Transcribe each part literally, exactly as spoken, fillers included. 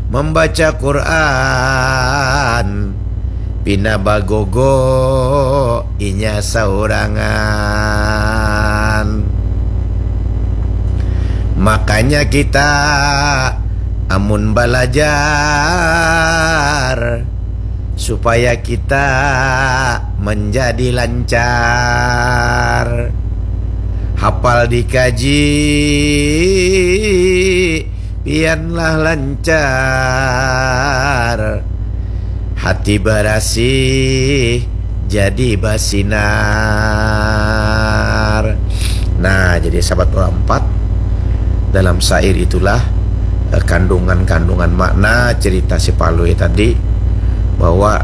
membaca Quran, pina bagogo inya saurangan. Makanya kita amun balajar supaya kita menjadi lancar. Hafal dikaji, pianlah lancar. Hati barasih jadi basinar. Nah, jadi sahabat Ura empat, dalam syair itulah eh, kandungan-kandungan makna cerita si Palui tadi, bahwa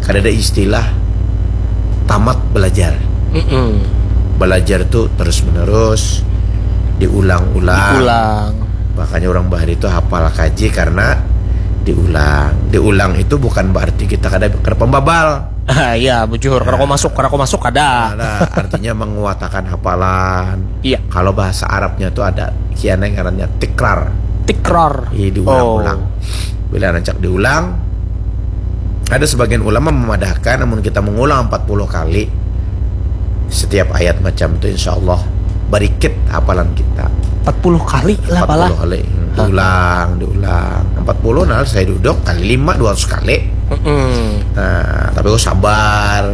kada ada istilah tamat belajar. Mm-mm. Belajar tuh terus menerus, diulang-ulang. Diulang. Makanya orang bahari itu hafal kaji karena diulang. Diulang itu bukan berarti kita kada kada pembabal. Ah, iya, bujur. Kada masuk, kada masuk ada. Ada artinya menguatakan hafalan. Iya. Kalau bahasa Arabnya tuh ada kiana yang ngarannya tikrar. Tikrar. Iya, diulang-ulang. Bila rancak diulang, ada sebagian ulama memadahkan namun kita mengulang empat puluh kali setiap ayat macam itu, insya Allah berikit hafalan kita. Empat puluh kali lah pala. Empat puluh kali. Diulang, diulang. Empat puluh, nah, saya duduk kali lima, dua ratus kali. Mm-mm. Nah, tapi kau sabar.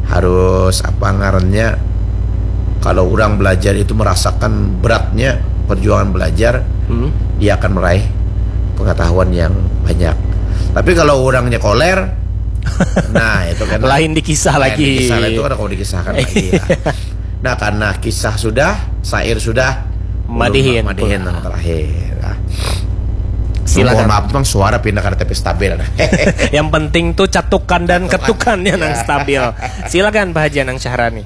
Harus apa ngarannya? Kalau orang belajar itu merasakan beratnya perjuangan belajar, Hmm. dia akan meraih pengetahuan yang banyak. Tapi kalau orangnya koler, nah, itu kan Lain dikisah lain lagi. Dikisah itu kada kau dikisahkan lagi lah. Nah, karena kisah sudah, syair sudah, Madihin ulun madihin pula. Yang terakhir. Nah. Silakan. Mohon maaf, bang, suara pindah kada tapi stabil. Nah. Yang penting tuh catukan dan ketukannya nang Ya. Stabil. Silakan Pak Haji Anang Syahrani.